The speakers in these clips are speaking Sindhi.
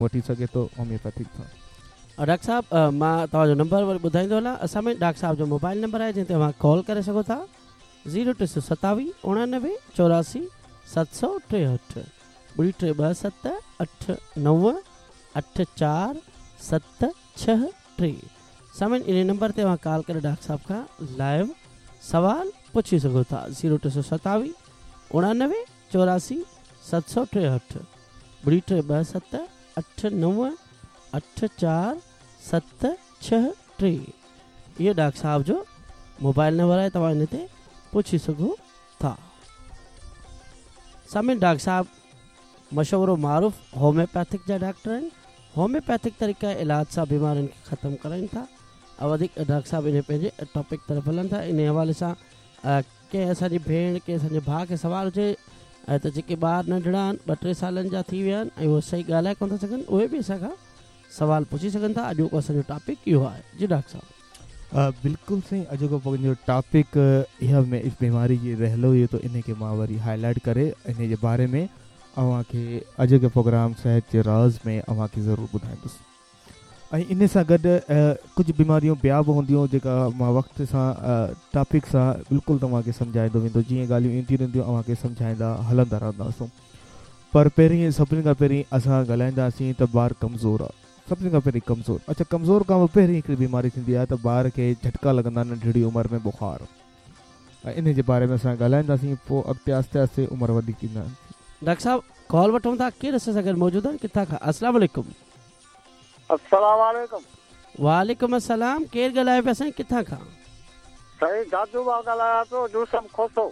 وٺي سگهي ٿو هوميوپيٿڪ سان. ڊاڪٽر صاحب مان توهان جو نمبر وري ٻڌائيندو هلان اسان ۾ ڊاڪٽر صاحب جو موبائل نمبر آهي جنهن تي اوهان ڪال ڪري سگهو ٿا زيرو ٽي سو ستاويهه اڻانوي چوراسي 763 ٻڙي ٽي ٻه ست اٺ نو اٺ چار ست ڇهه ٽي سامعين انهي نمبر تي اوهان ڪال ڪري ڊاڪٽر صاحب کان لائيو سوال پڇي سگهو ٿا زيرو ٽي سو ستاويهه اڻانوي چوراسي 763 ٻڙي ٽي ٻه ست اٺ نو اٺ چار ست ڇهه ٽي اهو ڊاڪٽر صاحب جو موبائل نمبر آهي توهان ان تي پڇي سگهو ٿا. سامعين ڊاڪٽر صاحب مشهور و معروف هوميوپيٿڪ جا ڊاڪٽر آهن هوميوپيٿڪ طريقه علاج سان بيمارين کي ختم ڪرائين ٿا ۽ وڌيڪ ڊاڪٽر صاحب انهي پنهنجي ٽاپڪ طرف هلن ٿا انهي حوالي سان ڪنهن اسان جي ڀيڻ ڪنهن اسان جي ڀاء کي سوال هجي ته جيڪي ٻار ننڍڙا آهن ٻه ٽي سالن جا ٿي ويا آهن ۽ اهي صحيح ڳالهائي ڪونه ٿا سگهن اهي به اسان کان سوال پڇي سگهن ٿا اڄوڪو اسان جو ٽاپڪ اهو آهي جي ڊاڪٽر صاحب. بلڪل سائين اڄوڪو پنهنجو ٽاپڪ اها بيماري جي رهلو هيو ته انهي کي مان وري هائي لائيٽ ڪري انهي جي باري ۾ اوهان کي اڄوڪي پروگرام صحت جي راز ۾ اوهان کي ضرور ٻڌائيندس. ۽ انهي سان گڏ ڪجهه بيماريون ٻيا به هونديون جيڪا مان وقت سان ٽاپڪ سان بلڪل توهان کي سمجهائيندو ويندو جيئن ڳالهيون اينديون رهنديون اوهان کي سمجهائيندا هلندا رهنداسون پر پهرين سڀني کان پهرين اسان ڳالهائينداسين ته ٻار ڪمزور آ سڀني کان پهرين ڪمزور اڇا ڪمزور کان به پهرين هڪڙي بيماري ٿيندي آهي ته ٻار کي جهٽڪا لڳندا آهن ننڍڙي عمر ۾ بخار ۽ انهي جي باري ۾ اسان ڳالهائينداسين پوء اڳتي آهستي آهستي عمر وڌيڪ ايندا. ڊاڪٽر صاحب ڪال وٺون ٿا ڪير اسان سان گڏ موجود آهن ڪٿان کان السلام عليڪم. السلام عليڪم. وعليڪم السلام ڪير ڳالهايو پيا سائين ڪٿان کان. سائين دادو مان ڳالهايان پيو يوسف کوسو.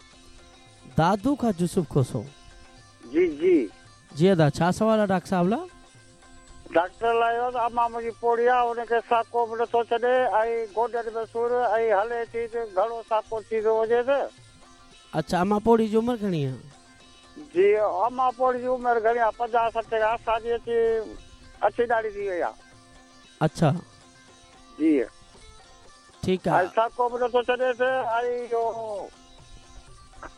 دادو کان يوسف کوسو. جي جي. جي ادا ڇا سوال آ ڊاڪٽر صاحب لا. ڊاڪٽر لاء اهو ته امان منهنجي پوڙهي آ ان کي ساڪو به نٿو ڇڏي ۽ گوڏن ۾ سور ۽ هلي ٿي ته گهڻو ساڪو ٿي ٿو وڃيس. اڇا امان پوڙهي جي عمر گهڻي آ. جي امان پوڙهي جي عمر گهڻي آ پنجاهه سٺ کان اسان جي اچي اڇي ڏاڙهي ٿي وئي آ. اڇا. جي. ٺيڪ آ. ۽ ساڪو به نٿو ڇڏيس ۽ اهو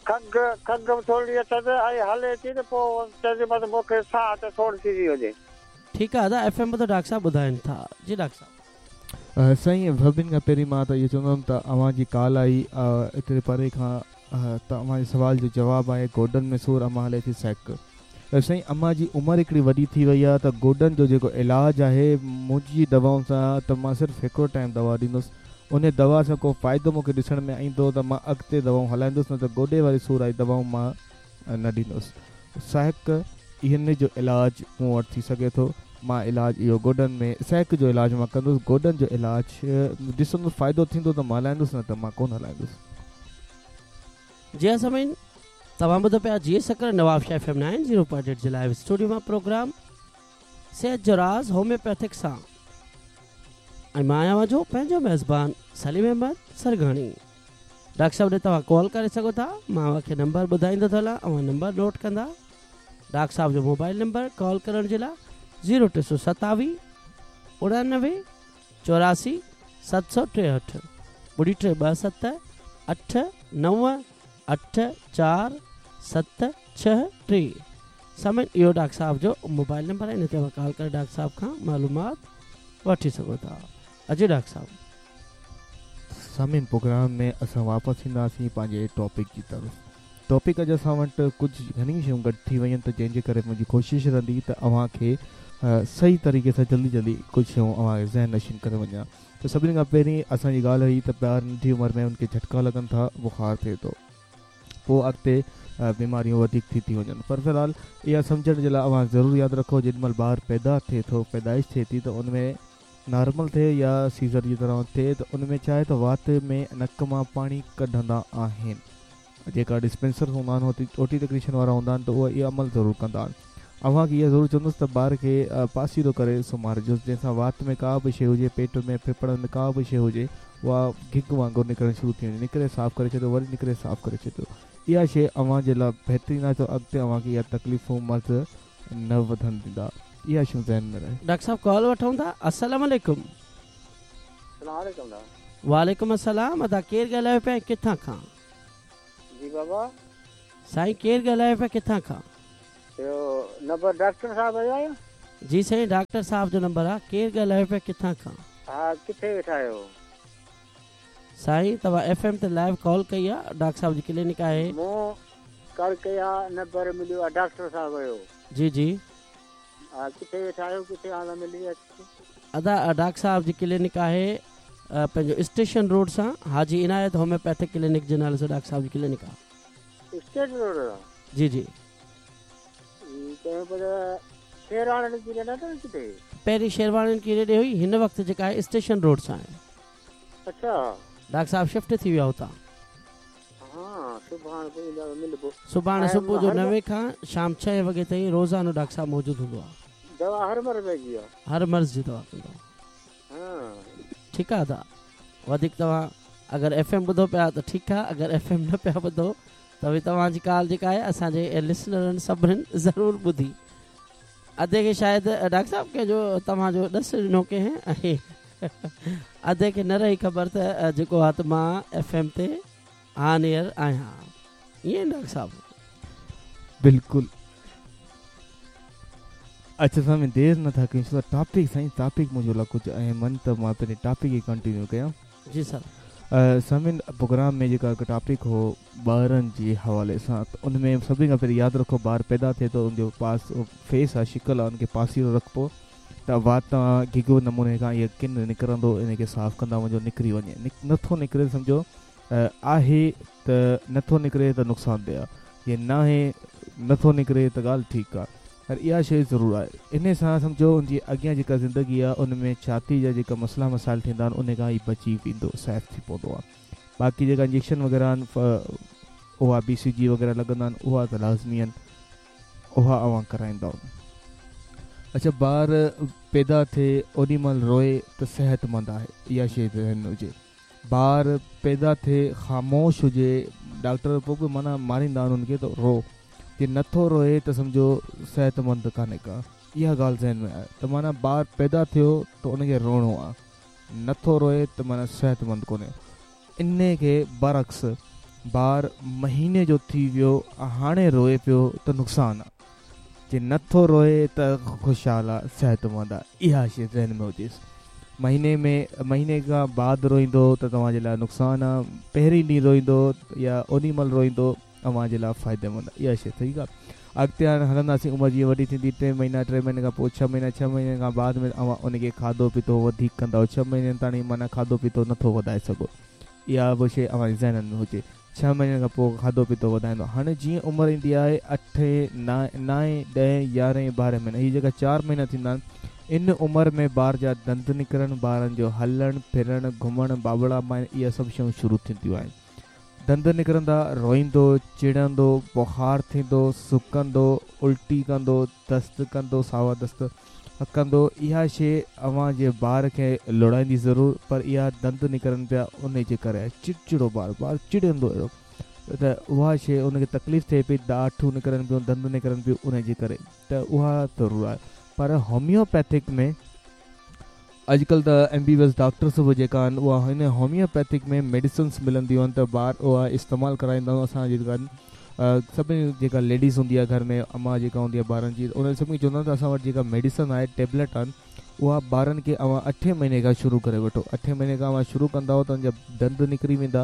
کنگهه کنگهه به ٿورڙي اٿس ۽ هلي ٿي ته پوء چئي ٿي بس مون کي ساهه تي سوڙ ٿي ٿي وڃي. ٺيڪ آ ادا ايف ايم ٻڌو ڊاڪٽر صاحب ٻڌائين ٿا جي ڊاڪٽر صاحب. سائين سڀني کان پهرين مان ته اهو چوندم ته اوهان جي ڪال آئي ايتري پري کان ته اوهان جي سوال جو جواب آهي گوڏن ۾ سور امان هلي ٿي سهڪ سائين امان جي عمر هڪڙي وڏي ٿي وئي آهي ته گوڏن جو جيڪو علاج آهي منهنجي دوائن سان ته مان صرف هڪڙو ٽائيم دوا ڏيندس انهي دوا سان ڪو فائدو مون کي ڏسڻ ۾ ايندو ته مان اڳتي دوائون هلائيندس نه ته گوڏي واري سور واري دوائون مان نه ڏيندس سهڪ ان جو علاج مون وٽ ٿي سگهي ٿو مان علاج اهو گوڏن ۾ سهڪ جو علاج مان ڪندس گوڏن جو علاج ڏسندس فائدو ٿيندو ته مان هلائيندس نه ته مان ڪونه هلائيندس. جي ها سامعين توهان ٻڌو پيا جي سکر نوابشاهه ايف ايم 90.8 جي لائيو اسٽوڊيو مان پروگرام صحت جو راز هوميوپيٿڪ سان ۽ مان آهيان اوهان جو پنهنجو ميزبان سليم احمد سرگاڻي. ڊاڪٽر صاحب ڏي توهان ڪال ڪري سگهو ٿا مان اوهان کي نمبر ٻڌائيندو ٿو هلان اوهان نمبر نوٽ ڪندا ڊاڪٽر صاحب جو موبائل نمبر ڪال ڪرڻ جي لاء زيرو ٽي سو ستاويهه اڻانوي چوراسي 763 ٻڙي ٽي ٻه ست اٺ نو اٺ چار ست ڇهه ٽي سامعين اهو ڊاڪٽر صاحب جو موبائل نمبر آهي ان تي اوهان ڪال ڪري ڊاڪٽر صاحب کان معلومات وٺي سگهو ٿا جي ڊاڪٽر صاحب. سامعين پروگرام ۾ اسان واپس اينداسين پنهنجي ٽاپڪ جي طرف ٽاپڪ اڄ اسان وٽ ڪجهه گهڻيون شيون گڏ ٿي ويون ته جنهن جي ڪري منهنجي ڪوشش رهندي ته اوهان کي صحيح طريقي سان جلدي جلدي ڪجهه شيون اوهان کي ذهن نشين ڪري وڃان ته سڀني کان پهرين اسان جي ڳالهه هئي ته ٻار ننڍي عمر ۾ ان کي جهٽڪا لڳن ٿا بخار ٿئي ٿو پوء اڳتي بيماريون وڌيڪ ٿي ٿي وڃن پر في الحال اها سمجهڻ جي لاء اوهان ضرور ياد رکو جيڏي مهل ٻار پيدا ٿئي ٿو پيدائش ٿئي ٿي ته ان ۾ نارمل ٿئي يا سيزر جي طرح ٿئي ته ان ۾ ڇا آهي ته وات ۾ نڪ مان پاڻي ڪڍندا آهن جيڪا ڊسپينسر هوندا آهن او ٽي ٽيڪنيشن وارا هوندا آهن ته اهي اهو عمل ضرور ڪندا آهن اوهان کي اهو ضرور چوندس ته ٻار کي پاسيرو ڪري سمهارجوس جنهن سان وات ۾ ڪا به شيء هجي پيٽ ۾ ڦڦڙن ۾ ڪا به شيء هجي اها گگ وانگر نڪرڻ شروع ٿي وڃي نڪري صاف ڪري ڇڏيو وري نڪري صاف ڪري ڇڏيو اها شيء اوهان جي لاء بهترين آهي ته اڳتي اوهان کي اها تڪليفون مرض نه وڌڻ ڏيندا اها شيون ذهن ۾ رهي. ڊاڪٽر صاحب ڪال وٺون ٿا السلام عليڪم. السلام عليڪم دا. وعليڪم السلام ادا ڪير ڳالهايو پيا ۽ ڪٿان کان. جي بابا. سائين ڪير ڳالهايو پيا ڪٿان کان. اهو نمبر ڊاڪٽر صاحب جو آهي. جي سائين ڊاڪٽر صاحب جو نمبر آ ڪير ڳالهايو پيا ڪٿان کان. ها ڪٿي ويٺا آهيو. سائين توهان ايف ايم تي لائيو ڪال ڪئي آ ڊاڪٽر صاحب جي ڪلينڪ آهي. مون ڪال ڪئي آ نمبر مليو آ ڊاڪٽر صاحب جو. جي جي. ها ڪٿي ويٺا آهيو ڪٿي آن ته ملي اچ. ادا ڊاڪٽر صاحب جي ڪلينڪ آهي پنهنجو اسٽيشن روڊ سان حاجي عنايت هوميوپيٿڪ ڪلينڪ جي نالي سان ڊاڪٽر صاحب جي ڪلينڪ آ. اسٽيٽ روڊ سان. جي جي. چيو پيو ته شيرواڻين جي نه اٿو ڪٿي. پهرين شيرواڻين ڪي ريڊي هئي هن وقت جيڪا آهي اسٽيشن روڊ سان آهي. اڇا. ڊاڪٽر صاحب شفٽ ٿي ويا هتان. ها سڀاڻ پوء ايندا ته ملبو. سڀاڻي صبح جو نوين کان شام ڇهين وڳي تائين روزانو ڊاڪٽر صاحب موجود هوندو آهي. دوا هر مرض جي آ. هر مرض جي دوا ڪندو آ. ها. ٺيڪ آ ادا وڌيڪ توهان اگر ايف ايم ٻڌو پيا ته ٺيڪ آ اگر ايف ايم نه پيا ٻڌو ته به توهان جي ڪال جيڪا آهي اسان جي لسنرن سڀنين ضرور ٻڌي. ادي کي شايد ڊاڪٽر صاحب ڪنهن جو توهان جو ڏس ڏنو ڪنهن ۽ ادي کي نه رهي خبر ته جيڪو آ ته مان ايف ايم تي آن ايئر آهيان ائين ڊاڪٽر صاحب. بلڪل اڇا سائين دير نه ٿا ڪيون ڇو ته ٽاپڪ سائين ٽاپڪ منهنجو لاء ڪجهه اهم آهن ته مان پنهنجي ٽاپڪ کي ڪنٽينيو ڪيان. جي سر. سامعين پروگرام ۾ جيڪا هڪ ٽاپڪ هو ٻارن جي حوالي سان ته ان ۾ سڀني کان پهرين ياد رکو ٻار پيدا ٿئي ٿو ان جو پاس فيس آ شڪل آ ان کي پاسيرو رکبو ته وات تان گگو نموني کان اهي ڪن نڪرندو ان کي صاف ڪندا وڃو نڪري وڃي نٿو نڪري سمجهو آهي ته نٿو نڪري ته نقصان ده آ جي ناهي نٿو نڪري ته ڳالهه ٺيڪ آ پر اها شيء ضرور آهي انهي سان سمجهو ان جي اڳيان جيڪا زندگي آ ان ۾ ڇاتي جا جيڪا مسئلا مسائل ٿيندا آهن انهي کان هي بچي ويندو سيف ٿي پوندو آ باقي جيڪا انجيڪشن وغيره آهن اها بي سي جي وغيره لڳندا آهن اها ته لازمي آهن اها اوهان ڪرائيندؤ اڇا ٻار پيدا ٿئي اوڏي مهل روئي ته صحت مند آهي اها شيء ذهن ۾ هجي ٻار پيدا ٿئي خاموش هجي ڊاڪٽر پوء به معنيٰ ماريندا آهن ان کي ته رو جي نٿو روئي ته سمجهو صحت مند ڪانهي ڪا اها ڳالهه ذهن ۾ آهي ته معنيٰ ٻار پيدا ٿيو ته ان کي روئڻو آ نٿو روئي ته معنيٰ صحت مند ڪونهي انهي کي برعڪس ٻار مهيني جو ٿي ويو هاڻي روئي پيو ته نقصان آ جي نه ٿو روئي ته خوشحال آ صحتمند آ اها شي ذهن ۾ هجيس مهيني ۾ مهيني کان بعد روئيندو ته توهان جي لاء نقصان آ پهرين ڏينهن روئيندو يا اوڏي مهل روئيندو اوهان جي لاء فائديمند آ اها شي ٺيڪ آ اڳتي هاڻي هلنداسين عمر جيئن وڏي ٿيندي ٽي مهينا ٽي مهيني کان پوء ڇهه مهينا ڇهه مهيني کان بعد ۾ اوهان ان کي کاڌو پيتو وڌيڪ ڪندؤ ڇهه مهينن تاڻي معنيٰ کاڌو پيتو نٿو وڌائي سگهو اها به شيء اوهان جي ذهنن ۾ هجي. ڇهن مهينن کان پوء کاڌو پيتو وڌائيندو. هاڻي جيئن عمر ايندي آهي اٺين، نائين، ڏهين، يارهين، ٻارهين مهينا هي جيڪا چار مهينا ٿيندا آهن ان عمر ۾ ٻار جا ڏند نڪرڻ، ٻارن جو هلڻ، ڦرڻ، گهمڻ، بابڙا پائڻ اها سڀ شيون شروع ٿينديون آهن. ڏند نڪرندا، روئيندو، چڙندو، بخار ٿيندو، سڪندو، الٽي ڪندو، دست ڪندو، ساوا دست، ڪندو اها شيء اوهان جي ٻار کي لوڙائيندي ضرور پر اها ڏند نڪرن پيا انهي جي ڪري آهي چڙچڙو ٻار ٻار چڙندو اهڙو ته اها شيء ان کي تڪليف ٿئي پئي ڏاٺون نڪرن پيون ڏند نڪرن پيون انهي جي ڪري ته اها ضرور آهي پر هوميوپيٿڪ ۾ اڄڪلهه ته M B B S doctors به جيڪا آهن اها هن هوميوپيٿڪ ۾ ميڊيسنس ملنديون آهن ته ٻار اها استعمال ڪرائيندا آهيون اسان جي جيڪا سڀني جيڪا ليڊيز هوندي آهي گهر ۾ امان جيڪا هوندي آهي ٻارن جي ان سڀني کي چوندا آهيون ته اسان وٽ جيڪا ميڊيسن آهي ٽيبليٽ آهن اها ٻارن کي اوهان اٺين مهيني کان شروع ڪري وٺو اٺين مهيني کان اوهان شروع ڪندؤ ته ان جا ڏند نڪري ويندا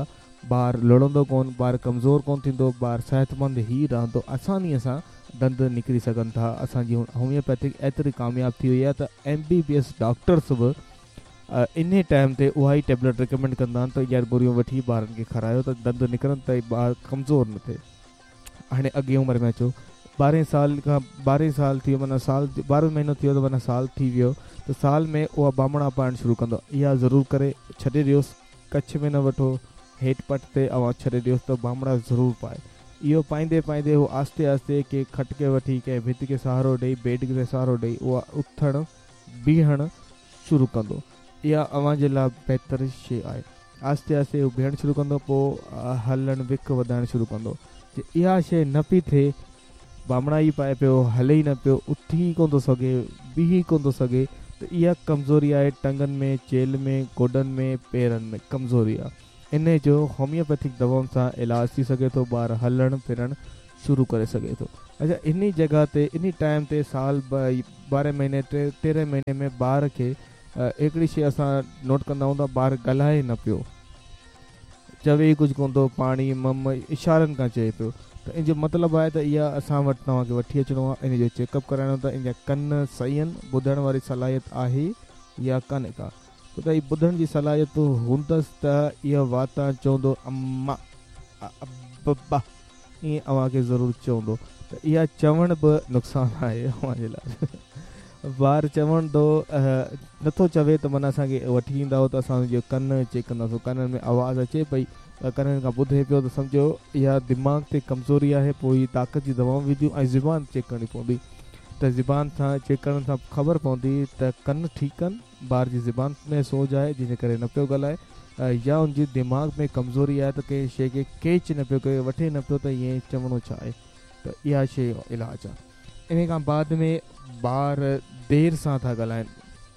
ٻار لڙندو ڪون ٻار ڪمزور ڪون ٿيندو ٻار صحتمند ئي رهندو آسانيء سان ڏند نڪري سگهن ٿا اسان جي هوميوپيٿڪ ايتري ڪامياب ٿي وئي آهي ته M B B S doctors به انهي ٽائيم تي اها ئي ٽيبليٽ ريڪمينڊ ڪندا آهن ته يار گوريون وٺي ٻارن کي کارايو ته ڏند نڪرن ته ٻار ڪمزور نه ٿئي هاڻي اڳئين عمر ۾ اچو ٻارهين سال کان ٻارهين سال ٿي ويو معنيٰ سال ٻارهون مهينو ٿي ويو ته معنيٰ سال ٿي ويو ته سال ۾ اها بامڻا پائڻ شروع ڪندو اها ضرور ڪري ڇڏي ڏيوس ڪڇ ۾ نه وٺو، هيٺ پٽ تي اوهان ڇڏي ڏيوس ته بامڙا ضرور پائي. اهو پائيندي پائيندي هو آهستي آهستي ڪنهن کٽ کي وٺي، ڪنهن ڀت کي سهارو ڏئي، بيڊ کي سهارو ڏئي اها اٿڻ بيهڻ شروع ڪندو. اها اوهان جي لاء بهتر شيء آهي. آهستي آهستي هو بيهڻ شروع ڪندو پوء هلڻ وک وڌائڻ شروع ڪندو. جي اها شيء نه پئي ٿئي بامڙا ئي پائي پيو، هلي ئي نه پيو، اٿي ئي ڪونه ٿو سگهي، بيهي ئي ڪونه ٿو سگهي ته اها ڪمزوري آهي ٽنگن ۾، چيلهه ۾، گوڏن ۾، پيرن ۾ ڪمزوري آهي. انهي جو هوميوپيٿڪ دوائن سان علاج ٿي سگهي ٿو، ٻار هلڻ ڦرڻ شروع ڪري سگهي ٿو. اڇا انهي جڳهه تي انهي ٽائيم تي سال 12 مهيني 13 مهيني ۾ ٻار کي هڪڙي شي اسان نوٽ ڪندا آهيون ته ٻار ڳالهائي نه پيو چوي ئي ڪجهه ڪونه ٿو پاڻي مم اشارن کان چئي پيو ته ان جو مطلب آهي ته اها اسان وٽ توهان کي وٺي اچڻو آهي ان جو چيڪ اپ ڪرائڻو ته ان جا ڪن صحيح آهن ٻڌڻ واري صلاحيت آهي يا ڪانهي ڪا ڇو ته هي ٻڌڻ جي صلاحيت هوندس ته اهو واتان چوندو اما ابا ائين اوهان کي ضرور چوندو ته اها چوڻ به نقصان آهي اوهان جي لاء ٻار چوندو نٿو چوي ته معنيٰ اسان کي وٺي ايندا ته اسان جو ڪن چيڪ ڪنداسون ڪنن ۾ آواز اچي پئي ڪنن کان ٻڌي پيو ته سمجهو اها دماغ تي ڪمزوري آهي پوء هي طاقت جي دوائون وينديون ۽ زبان چيڪ ڪرڻي پوندي ته زبان سان چيڪ ڪرڻ سان خبر پوندي ته ڪن ٺيڪ آهن ٻار جي زبان ۾ سوج آهي جنهن جي ڪري نه پيو ڳالهائي يا ان جي دماغ ۾ ڪمزوري آهي ته ڪنهن شيء کي ڪيچ نه پيو ڪري وٺي نه پيو ته ائين چوڻو ڇا آهي ته اها شيء علاج آهي انهي کان بعد ۾ ٻار دير سان ٿا ڳالهائن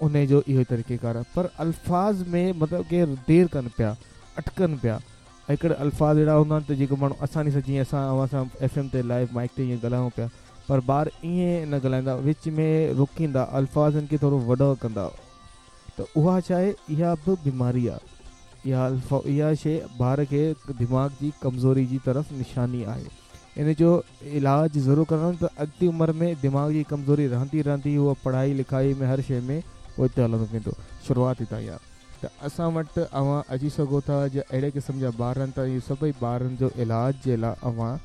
انهي جو اهو ئي طريقيڪار آهي پر الفاظ ۾ مطلب ڪي دير ڪن پيا اٽڪن پيا هڪڙا الفاظ اهڙا هوندا آهن ته جيڪو ماڻهو آساني سان جيئن اسان اوهان سان ايف ايم تي لائيو مائيڪ تي ائين ڳالهايون پيا پر ٻار ائين نه ڳالهائيندا وچ ۾ روڪيندا الفاظن کي ٿورو وڏو ڪندا ته اها ڇا آهي اها به بيماري آهي اها اها شيء ٻار کي دماغ جي ڪمزوري جي طرف نشاني آهي ان جو علاج ضرور ڪرڻو ته اڳتي عمر ۾ دماغ جي ڪمزوري رهندي رهندي هو پڙهائي لکائي ۾ هر شيء ۾ پوئتي هلندو ويندو شروعات هتان ئي آهي ته اسان وٽ اوهان اچي سگهو ٿا جي اهڙي قسم جا ٻار آهن ته اهي سڀئي ٻارن جو علاج جي لاء اوهان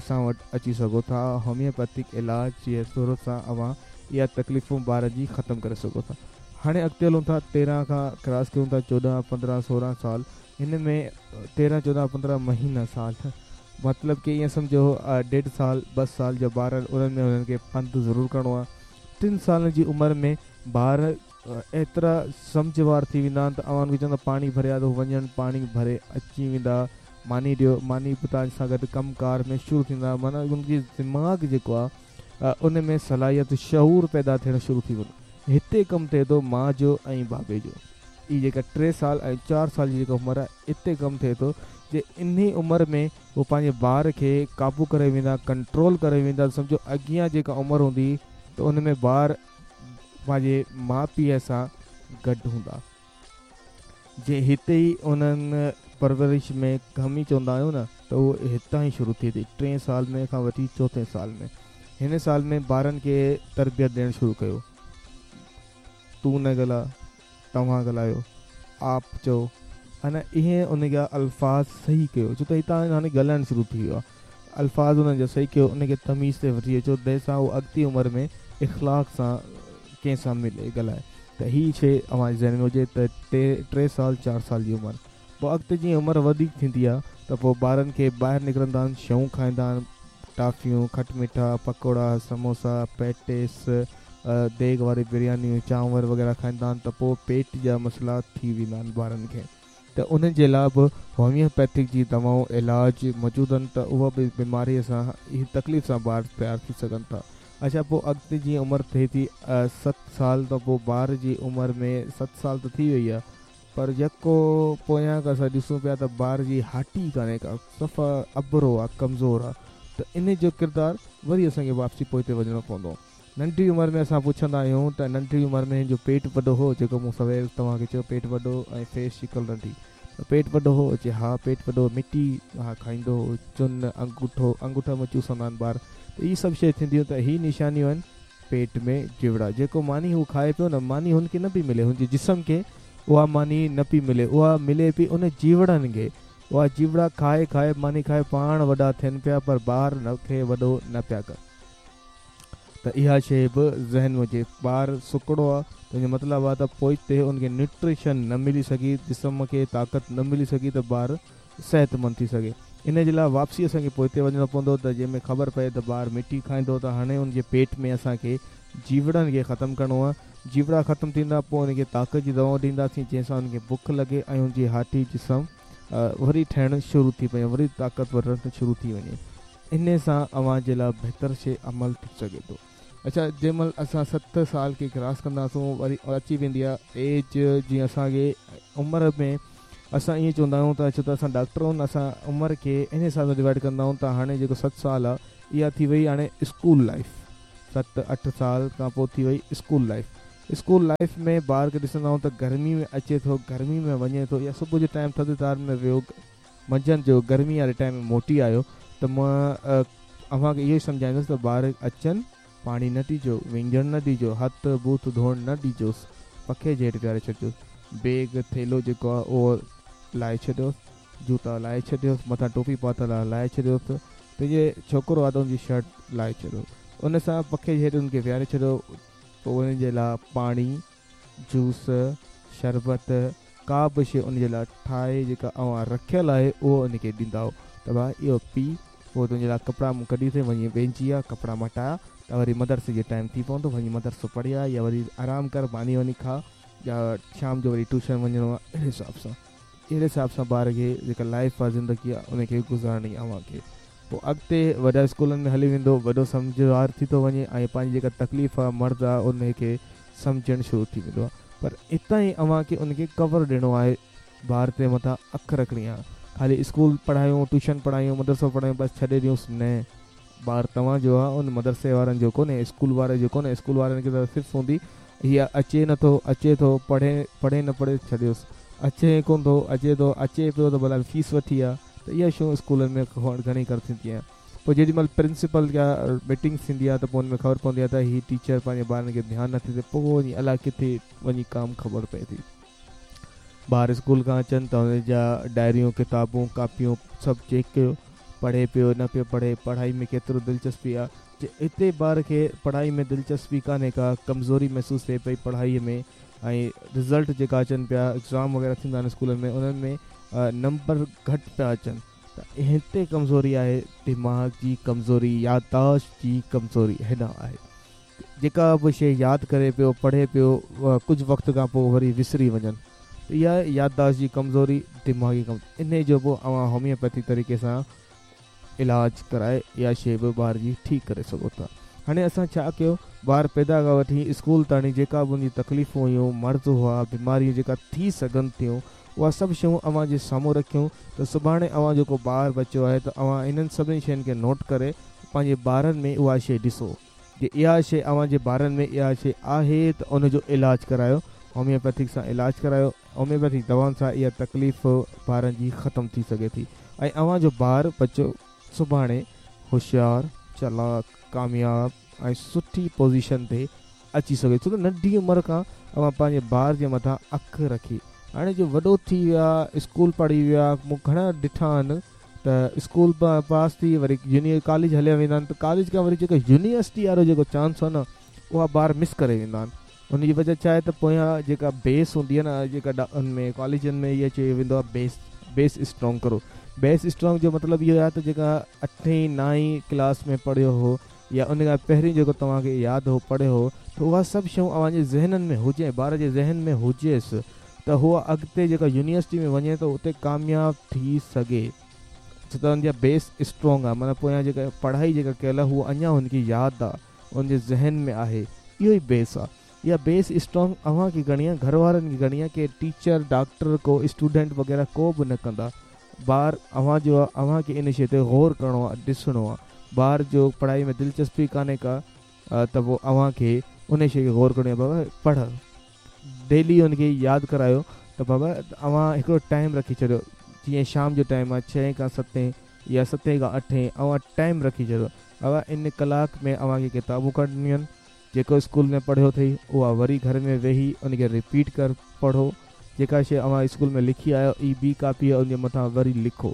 اسان وٽ اچي سگهو ٿا هوميوپيٿڪ علاج جي صورت سان اوهان اها تڪليفون ٻارن جي ختم ڪري سگهو ٿا هاڻي اڳتي هلون ٿا 13 کان ڪراس ڪيون ٿا 14 15 16 سال هن ۾ 13 14 15 مهينا سال مطلب ڪي ائين سمجهو ڏيڍ سال ٻه سال جا ٻار آهن انهن ۾ انهن کي پنڌ ضرور ڪرڻو آهي 3 سالن جي عمر ۾ ٻار ايترا سمجهه وار ٿي ويندا آهن ته اوهان کي چوندا پاڻي ڀري آ ته هو وڃن پاڻي ڀري اچي ويندا ماني ڏيو ماني به توهان سان گڏ ڪم ڪار ۾ شروع ٿيندا معنيٰ ان جي دماغ جيڪو آ ان ۾ صلاحيت شعور پيدا ٿيڻ شروع ٿي وڃي هتي ڪم ٿئي ٿو ماء جو ۽ بابي جو هي جيڪا 3 سال ۽ 4 سال جي جيڪا عمر آهي اتي ڪم ٿئي ٿو جي انهي عمر ۾ هو پنهنجي ٻار کي قابو ڪري ويندا ڪنٽرول ڪري ويندا سمجهو اڳيان جيڪا عمر هوندي ته ان ۾ ٻار پنهنجي ماء پيء سان گڏ هوندا. جي هتي ئي انهن پرورش ۾ ڪمي چوندا آهيون نه ته اهو هتان ئي شروع ٿئي ٿي ٽئين سال ۾ کان وٺي چوٿين سال ۾ هن سال ۾ ٻارن کي تربيت ڏيڻ شروع ڪيو تون نه ڳالهاء توهان ڳالهايو آپ چئو انا اهي ان جا الفاظ صحيح ڪيو ڇو ته هتان هاڻي ڳالهائڻ شروع ٿي ويو آهي الفاظ انهن جا صحيح ڪيو ان کي تميز تي وٺي اچو جنهن سان هو اڳتي عمر ۾ اخلاق سان ڪنهن سان ملي ڳالهائي ته هي شي اوهان جي ذهن ۾ هجي ته 3 سال 4 سال جي عمر پوء اڳتي جيئن عمر وڌيڪ ٿيندي آهي ته پوء ٻارن کي ٻاهر نڪرندا آهن شيون کائيندا آهن ٽافيون کٽ مٺا پڪوڙا سموسا پيٽيس ديڳ واري بريانيون چانور وغيره کائيندا آهن ته پوء پيٽ جا مسئلا ٿي ويندا آهن ٻارن کي ته انهن جي لاء به هوميوپيٿڪ جي دوائون علاج موجود آهن ته اها به بيماري سان هي تڪليف سان ٻار تيار ٿي سگهن ٿا اڇا پوء اڳتي جيئن عمر ٿئي ٿي 7 سال ته پوء ٻار جي عمر ۾ 7 سال ته ٿي وئي آهي پر يڪو پويان کان اسان ڏسون پيا ته ٻار جي هاٽي ڪانهي ڪا صفا اٻرو آ ڪمزور آ ته انهي جو ڪردار وري اسان کي واپسي پوئتي وڃڻو پوندو. ننڍي عمر ۾ اسان پڇندا آهيون ته ننڍي عمر ۾ هن جو پيٽ وڏو هو جيڪو مون سوير توهان کي چيو پيٽ وڏو ۽ فيس شڪل ننڍي ته پيٽ وڏو هو چي ها پيٽ وڏو مٽي ها کائيندو هو چن انگوٺو انگوٺا ۾ چوسندا آهن ٻار ته هي سڀ شيء ٿينديون ته هي نشانيون آهن پيٽ ۾ جيوڙا جيڪو ماني هو کائي پيو نه ماني هن کي نه پئي ملي هن جي جسم کي اها ماني نه پئي ملي اها ملي پئي ان جيوڙن کي اها جيوڙا کائي کائي ماني کائي پاڻ وڏا ٿين پيا پر ٻار کي وڏو نه پيا ڪن. ته اها شيء به ذهن ۾ هجي. ٻار سڪڙو آ ته ان جو مطلب آ ته پوئتي ان کي نيوٽريشن نه ملي سگهي، جسم کي طاقت نه ملي سگهي ته ٻار صحتمند ٿي سگهي. ان جي لاء واپسي اسان کي پوئتي وڃڻو پوندو ته جنهن ۾ خبر پئي ته ٻار مٽي کائيندو ته هاڻي ان جي پيٽ ۾ اسان کي جيوڙن کي ختم ڪرڻو آ. جيوڙا ختم ٿيندا پوء ان کي طاقت جي دوائون ڏينداسين جنهن سان ان کي بک لڳي ۽ ان جي هاٽي جسم وري ٺهڻ شروع ٿي پئي وري طاقتور رهڻ شروع ٿي وڃي. انهي سان اوهان جي لاء بهتر شيء عمل ٿي سگهي ٿو. اڇا جنهن مهل اسان 7 سال کي ڪراس ڪنداسون وري اچي ويندي آهي ايج جيئن اسان کي عمر ۾ اسان ائين چوندا آهيون ته ڇو ته اسان ڊاڪٽر آهيون اسان عمر کي انهي حساب سان ڊوائيڊ ڪندا آهيون ته هاڻي جيڪو 7 سال آهي اها ٿي وئي هاڻي اسڪول لائيف ست اٺ سال کان پوء ٿي وئي اسڪول لائيف اسڪول لائيف ۾ ٻار کي ڏسندا آهيون ته گرمي ۾ اچي ٿو گرمي ۾ وڃي ٿو يا صبح جو ٽائيم ٿڌ ۾ ويو منجهند جو گرمي واري ٽائيم ۾ موٽي آيو ته مان اوهان کي اهو ئي سمجهائيندس ته ٻار اچن پاڻي نه ڏجو وهنجڻ نه ڏجو هٿ ٻوٿ ڌوئڻ نه ڏجوس پکي جي هيٺ ويهاري ڇڏجوس بيگ ٿيلهو جيڪو آهي اهو لاهي ڇڏيوس جوتا لاهي ڇڏيوس مٿان ٽوپي پاتل آهي لاهي ڇڏيوس ته جي ڇوڪرو آهي ته ان جي شرٽ لاهي ڇڏيو ان سان پکي جي هيٺ ان کي ويهاري ڇڏيو پوء ان جي لاء پاڻي جوس شربت ڪا به شيء ان جي لاء ٺاهي جيڪا اوهان رکيل آهي اهو ان کي ڏيندائو ته ڀاء اهو پي پوء تنهنجي لاء ڪپڙا مون ڪڍي اٿئي وڃي وهنجي آ ڪپڙا مٽاء ته وري مدرسي جو ٽائيم ٿي پوندو وڃي مدرسو پڙهي آ يا وري آرام ڪر ماني واني کاء يا شام جو وري ٽيوشن وڃڻو آ اهڙي حساب سان اهڙي حساب سان ٻار کي جيڪا لائيف آ زندگي آ ان کي گذارڻي آ اوهان کي پوء اڳتي وڏا اسڪولن ۾ هلي ويندو وڏو سمجهدار ٿي ٿو وڃي ۽ پنهنجي جيڪا تڪليف آ مرض آ ان کي سمجهڻ شروع ٿي ويندو آ پر اتان ئي اوهان کي ان کي ڪور ڏيڻو آهي ٻار تي مٿان اک رکڻي آ خالي اسڪول پڙهايون ٽيوشن پڙهايون مدرسو پڙهايون بس ڇڏي ڏيونس نه ٻار توهان جو آ ان مدرسي وارن جو ڪونهي اسڪول واري جو ڪونهي اسڪول وارن کي ته صرف هوندي هي اچي نٿو اچي ٿو پڙهي پڙهي نه پڙهي ڇڏيوس اچي ڪونه ٿو اچي ٿو اچي پيو ته ڀلا فيس وٺي آ ته اها شيون اسڪولن ۾ گهڻي ڪر ٿيندي آهن پوء جيڏي مهل پرنسپل يا ميٽنگس ٿيندي آهي ته پوء ان ۾ خبر پوندي آهي ته هي ٽيچر پنهنجي ٻارن کي ڌيان نٿي ڏي پوء وڃي الاء ڪٿي وڃي ڪام خبر پئي ٿي ٻار اسڪول کان اچن ته ان جا ڊائريون ڪتابون ڪاپيون سڀ چيڪ ڪيو پڙهي پيو نه پيو پڙهي پڙهائي ۾ ڪيترو دلچسپي آهي جي هتي ٻار کي پڙهائي ۾ دلچسپي ڪانهي ڪا ڪمزوري محسوس ٿئي پئي پڙهائي ۾ ۽ رزلٽ جيڪا اچن پيا ايگزام وغيره ٿيندا آهن اسڪولن ۾ انهن ۾ نمبر گهٽ پيا اچن ته هتي ڪمزوري آهي دماغ جي ڪمزوري يادداشت جي ڪمزوري هيڏانهن آهي جيڪا به شيء ياد ڪري پيو پڙهي پيو ڪجهه وقت کان پوء وري وسري وڃن ته اها يادداشت جي ڪمزوري دماغي ڪمزوري انهي جو به اوهان هوميوپيٿي طريقي سان علاج ڪرائي اها شيء به ٻار جي ٺيڪ ڪري سگهو ٿا. هاڻي اسان ڇا ڪيو ٻار پيدا کان وٺي اسڪول تاڻي جيڪا به ان جي تڪليفون هيون، مرض هئا، بيماريون جيڪا ٿي سگهن ٿيون اها سڀ شيون اوهان جي سامهون رکيون ته سڀاڻي اوهان جو ڪو ٻار ٻچو آهي ته اوهان انهن سڀني شين کي نوٽ ڪري پنهنجي ٻارن ۾ اها شيء ڏسو. جي اها شيء اوهان جي ٻارن ۾ اها شيء آهي ته ان جو علاج ڪرايو، هوميوپيٿڪ سان علاج ڪرايو، هوميوپيٿڪ دوائن سان اها تڪليف ٻارن جي ختم ٿي سگهي ٿي ۽ اوهان جو ٻار ٻچو سڀاڻي هوشيار، چالاڪ، ڪامياب ۽ سٺي پوزيشن تي اچي سگهي ڇو ته ننڍي عمر کان اوهان پنهنجي ٻار جي مٿان اک رکي هاڻي جو وڏو ٿي ويا اسڪول پڙهي ويا مون گهڻا ڏٺا آهن ته اسڪول پاس ٿي وري يوني ڪاليج هليا ويندا آهن ته ڪاليج کان وري جيڪو يونيورسٽي وارو جيڪو چانس آهي نه اها ٻار مس ڪري ويندا آهن ان جي وجه ڇا آهي ته پويان جيڪا بيس هوندي آهي نه جيڪا ان ۾ ڪاليجن ۾ اها چيو ويندو آهي بيس بيس اسٽرانگ ڪرو بيس اسٽرانگ جو مطلب اهو آهي ته جيڪا اٺين نائين ڪلاس ۾ پڙهيو هو يا ان کان پهرين جيڪو توهان کي ياد هو پڙهيو هو ته اها سڀ شيون اوهان جي ذهنن ۾ هجي ٻار جي ذهن ۾ هجيس ته هو اڳتي جيڪا يونيورسٽي ۾ وڃي ته اتي ڪامياب ٿي سگهي ڇو ته ان جا بيس اسٽرانگ آهي معنيٰ پويان جيڪا پڙهائي جيڪا ڪيل آهي هو اڃا هن کي ياد آهي ان جي ذهن ۾ آهي اهو ئي بيس آهي اها بيس اسٽرانگ اوهان کي ڪرڻي آهي گهر وارن کي ڪرڻي آهي ڪي ٽيچر ڊاڪٽر ڪو اسٽوڊنٽ وغيره ڪو به نه ڪندا ٻار اوهان جو آهي اوهان کي ان شيء تي غور ڪرڻو آهي ڏسڻو آهي ٻار جو پڙهائي ۾ دلچسپي ڪانهي ڪا ته پوء اوهان کي ان شيء کي غور ڪرڻو آهي بابا پڙهه ڊيلي ان کي ياد ڪرايو ته بابا اوهان هڪڙو ٽائيم رکي ڇڏيو جيئن شام جو ٽائيم آهي ڇهين کان ستين يا ستين کان اٺين اوهان ٽائيم رکي ڇڏيو بابا ان ڪلاڪ ۾ اوهان کي ڪتابون ڪڍڻيون آهن جيڪو اسڪول ۾ پڙهيو اٿئي اها وري گهر ۾ ويهي ان کي رپيٽ ڪر پڙهو جيڪا شيء اوهان اسڪول ۾ لکي آيو اي ٻي ڪاپي ان جي مٿان وري لکو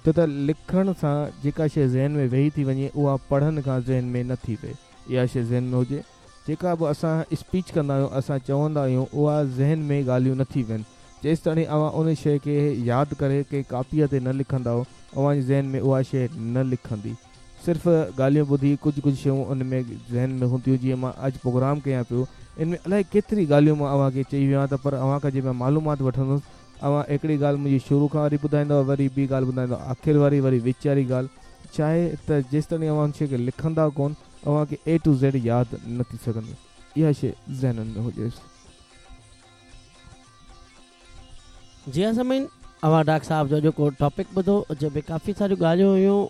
ڇو ته لکڻ سان جيڪا شيء ذهن ۾ ويهي ٿي وڃي اها پڙهڻ کان ذهن ۾ نه ٿي ويهي اها شيء ذهن ۾ هجي جيڪا به اسان اسپيچ ڪندا آهيون، اسان چوندا آهيون، اها ذهن ۾ ڳالهيون نه ٿي ويهن. جيستاڻي اوهان ان شيء کي ياد ڪري ڪنهن ڪاپيء تي نه لکندؤ، اوهان جي ذهن ۾ اها شيء نه لکندي. صرف ڳالهيون ٻڌي ڪجهه ڪجهه شيون ان ۾ ذهن ۾ هونديون جيئن مان اڄ پروگرام ڪيان پيو، ان ۾ الائي ڪيتري ڳالهيون مان اوهان کي چئي ويو آهيان ته پر اوهان کان جي مان معلومات وٺندس، اوهان هڪڙي ڳالهه منهنجي شروع کان واري ٻڌائيندؤ، وري ٻي ڳالهه ٻڌائيندؤ آخر واري، وري وچ واري ڳالهه. ڇاهي ته جيستاڻي اوهان ان شيء کي لکندا ڪونه، اوهان کي اي ٽو زيڊ ياد نه ٿي سگهندي. اها شيء ذهنن ۾ هجيس. جي ها سامعين اوهان ڊاڪٽر صاحب جو اڄوڪو ٽاپڪ ٻڌو جنهن ۾ ڪافي ساريون ڳالهيون هيون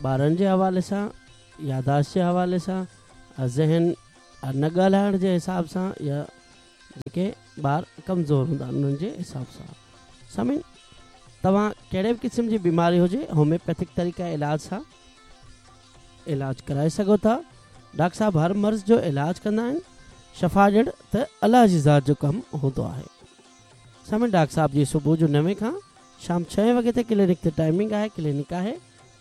ٻارن جي حوالي سان. ياداشت جي حوالي سان، ذهن نه ڳالهائڻ جي حساب سان يا جيڪي ٻار ڪمزور هوندا آهن انهن جي حساب سان. سامعين توهان ڪهڙي به قسم جي بيماري هجي هوميوپيٿڪ طريقه علاج سان علاج ڪرائي سگهو ٿا. ڊاڪٽر صاحب هر مرض جو علاج ڪندا آهن. شفا ڏيڻ ته الله جي ذات جو ڪم هوندو آهي. سامعين ڊاڪٽر صاحب جي صبح جو نوين کان شام ڇهين وڳي تائين ڪلينڪ تي ٽائمنگ آهي. ڪلينڪ آهي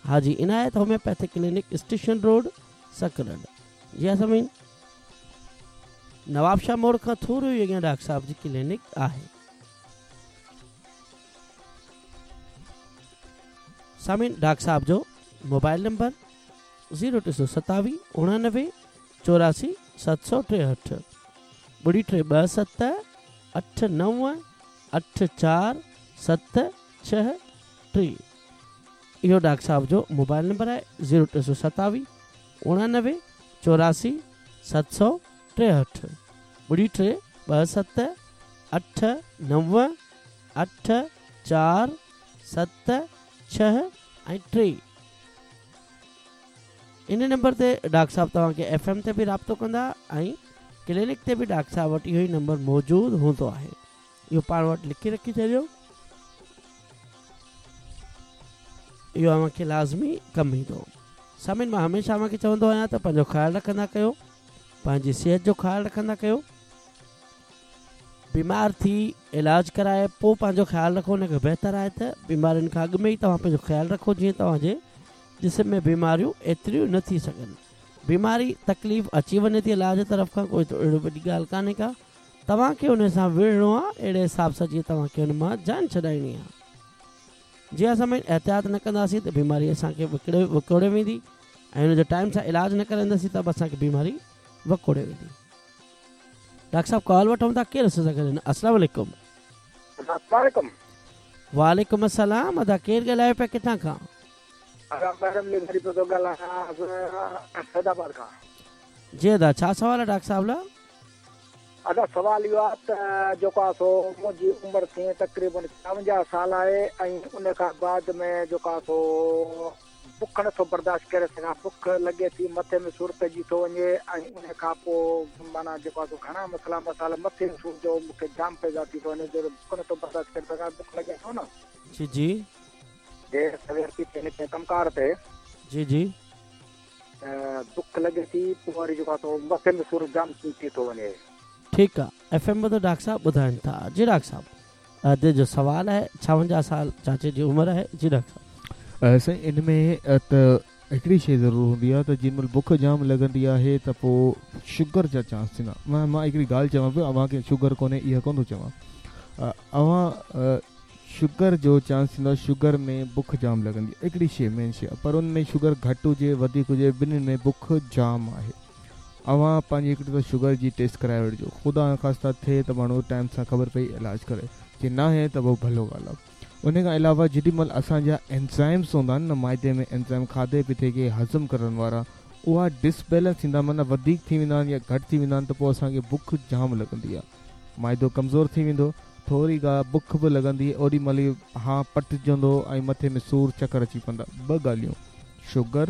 Haji Inayat homeopathic clinic station road Sakrand. جي ها سامعين نوابشاهه موڙ کان ٿورو ئي اڳيان ڊاڪٽر صاحب جي ڪلينڪ آهي. سامعين ڊاڪٽر صاحب جو موبائل نمبر زيرو ٽي سو ستاويهه اڻانوي چوراسي 763 ٻڙي ٽي ٻه ست اٺ نو اٺ چار ست ڇهه ٽي اهو ڊاڪٽر صاحب جو موبائل نمبر آهي زيرو ٽي سو ستاويهه اڻانوي چوراسي 763 ٻڙي ٽي ٻه ست اٺ نو اٺ چار ست ڇهه ۽ ٽي ان نمبر تي ڊاڪٽر صاحب توهان کي ايف ايم تي به رابطو ڪندا ۽ ڪلينڪ تي به ڊاڪٽر صاحب وٽ اهو ئي نمبر موجود هوندو آهي. اهو پاڻ وٽ لکي رکي ڇڏيو. اهو اوهان کي لازمي ڪم ايندو. سامعين مان هميشه اوهان کي چوندو آهيان ته پنهنجو خيال رکندا ڪيو، پنهنجي صحت جو خيال رکندا ڪيو. بيمار ٿي علاج ڪرائي پوء پنهنجو خيال رکو ان کان بهتر آهي ته بيمارين کان اڳ ۾ ئي توهان پنهنجو خيال رکو جيئن توهان جي جسم ۾ بيماريون ايتريون نه ٿي سگهن. بيماري تڪليف اچي وڃي ٿي الله جي طرف کان ڪوئي اهڙو وڏي ڳالهه ڪانهي ڪا توهان کي ان سان وڙهڻو آهي اهڙي حساب سان جيئن توهان کي ان مان جان ڇڏائڻي آهي. جي اسان احتياط نه ڪنداسين ته بيماري اسان کي وڪوڙي ويندي ۽ ان جو ٽائيم سان علاج نه ڪرائينداسين ته به اسان کي بيماري وڪوڙي ويندي. ڊاڪٽر صاحب ڪال وٺون ٿا ڪير اسان سان گڏ آهن السلام عليڪم. السلام عليڪم. وعليڪم السلام ادا ڪير ڳالهايو پيا ڪٿان کان. ادا محرم لغاري پيو ٿو ڳالهايان سيد آباد کان. جي ادا ڇا سوال آهي ڊاڪٽر صاحب لاء. ادا سوال اهو آهي ته جيڪو آهي سو منهنجي عمر ٿئي تقريبن 56 سال آهي ۽ ان کان بعد ۾ جيڪو آهي سو بک نٿو برداشت ڪري سگهان بک لڳي ٿي مٿي ۾ سور پئجي ٿو وڃي ۽ ان کان پوء معنيٰ جيڪو آهي سو گهڻا مسئلا مسائل مٿي جو سور جو مون کي جام پيدا ٿي ٿو وڃي جو بک نٿو برداشت ڪري سگهان بک لڳي ٿو نه. جي جي. دير سوير ٿي ٿئي نڪري ڪم ڪار تي. جي جي. ته بک لڳي ٿي پوء وري جيڪو آهي سو مٿي ۾ سور جام ٿي ٿو وڃي. ٺيڪ آ ايف ايم ٻڌو ڊاڪٽر صاحب ٻڌائن ٿا جي ڊاڪٽر صاحب ادي جو سوال آهي 56 سال چاچي جي عمر آهي جي ڊاڪٽر صاحب. سائين ان ۾ ته هڪڙي شي ضرور هوندي آهي ته جنهن مهل بک جام لڳندي آهي ته پوء شگر جا چانس ٿيندا مان مان هڪڙي ڳالهه چوان پيو اوهان کي شگر ڪونهي اها ڪونه ٿو چوان اوهان شگر جو چانس ٿيندو آهي شگر ۾ بک جام لڳندي آهي هڪڙي شي مين شي آهي پر ان ۾ شگر گهٽ هجي وڌيڪ هجي ٻنهين ۾ بک جام آهي اوهان پنهنجي هڪڙي دفعو شگر جي ٽيسٽ ڪرائي وٺجو خدا نخواسته ٿئي ته ماڻهو ٽائيم سان خبر پئي علاج ڪري جي ناهي ته پوء ڀلو ڳالهه آهي ان کان علاوه جيڏي مهل اسان جا اينزائمس هوندا آهن نه معدي ۾ اينزائم کاڌي پيتي کي هضم ڪرڻ وارا اها ڊس بيلنس ٿيندا معنيٰ وڌيڪ ٿي ويندا آهن يا گهٽ ٿي ويندا آهن ته پوء اسان کي بک جام لڳندي آهي معدو ڪمزور ٿي ويندو، ٿوري ڪا بک به لڳندي اوڏي مهل ئي هانء پٽجندو ۽ مٿي ۾ سور چڪر اچي پوندا. ٻه ڳالهيون، شگر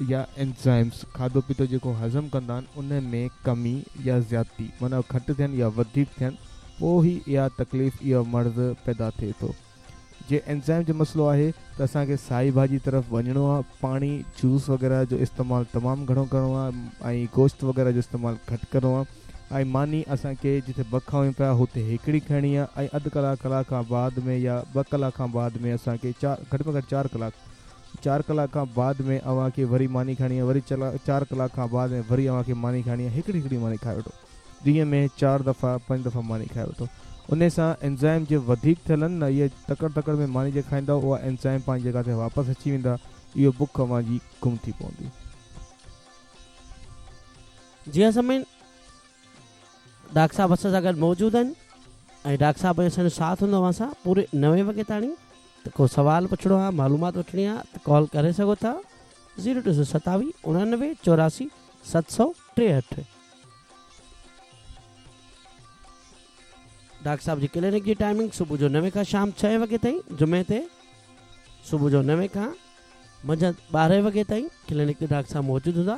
يا اينزائمز، کاڌو پيتو جيڪو هضم ڪندا آهن ان ۾ ڪمي يا زيادتي معنيٰ گهٽ ٿين يا وڌيڪ ٿين پوء ئي اها تڪليف اهو مرض پيدا ٿئي ٿو. جي اينزائم جو مسئلو آهي ته اسان کي سائي ڀاڄي طرف وڃڻو آهي، پاڻي، جوس وغيره جو استعمال تمام گهڻو ڪرڻو آهي ۽ گوشت وغيره جو استعمال گهٽ ڪرڻو آهي ۽ ماني اسان کي جتي ٻه کائون پيا هتي هڪڙي کائڻي آهي ۽ اڌ ڪلاڪ ڪلاڪ کان بعد ۾ يا ٻه ڪلاڪ کان بعد ۾ اسان کي چار گهٽ ۾ گهٽ چار ڪلاڪ چار ڪلاڪ کان بعد ۾ اوهان کي وري ماني کائڻي آهي وري چار ڪلاڪ کان بعد ۾ وري اوهان کي ماني کائڻي آهي هڪڙي هڪڙي ماني کائي وٺو. ڏينهن ۾ چار دفعا پنج دفعا ماني کائي وٺو انهي سان اينزائم جي وڌيڪ ٿيل آهن نه اهي تڪڙ تڪڙ ۾ ماني جي کائيندؤ اها اينزائم پنهنجي جڳهه تي واپس اچي ويندا اهو بک اوهان جي گم ٿي پوندي. جي ها سامعين ڊاڪٽر صاحب اسان سان گڏ موجود آهن ۽ ڊاڪٽر صاحب جو اسان جو ساٿ هوندو اوهان سان پوري نوين وڳي تاڻي ته ڪو سوال پڇڻو آهي معلومات وٺڻي آهي ته ڪال ڪري سگهو ٿا زيرو ٽي سو ستاويهه اڻانوي چوراسي 763. ڊاڪٽر صاحب جي ڪلينڪ جي ٽائمنگ صبح جو نوين کان شام ڇهين وڳي تائين جمعي تي صبح جو نوين کان منجهند ٻارهين وڳي تائين ڪلينڪ تي ڊاڪٽر صاحب موجود هوندا.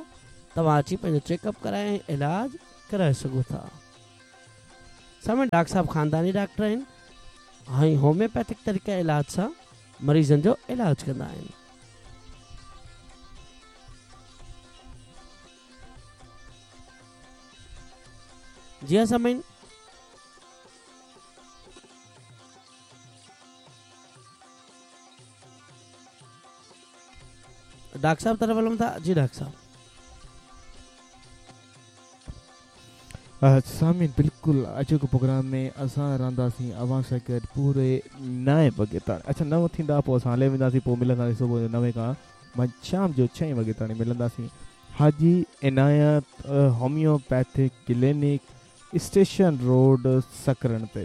توهان اچي پنهنجو چيڪ اپ ڪرائي ۽ علاج ڪرائي سگهو ٿا. سامعين ڊاڪٽر صاحب خانداني ڊاڪٽر آهن ۽ هوميوپيٿڪ طريقه علاج سان مريضن جو علاج ڪندا آهن. جي ها سامعين ڊاڪٽر صاحب طرف هلون ٿا جي ڊاڪٽر صاحب. سامعين بلڪل اڄوڪي پروگرام ۾ اسان رهنداسين اوهان سان گڏ پوري نائين وڳي تاڻي اڇا نو ٿيندا پوء اسان هلي وينداسين پوء ملنداسين صبح جو نوين کان شام جو ڇهين وڳي تاڻي ملنداسين Haji Inayat homeopathic clinic station road Sakrand تي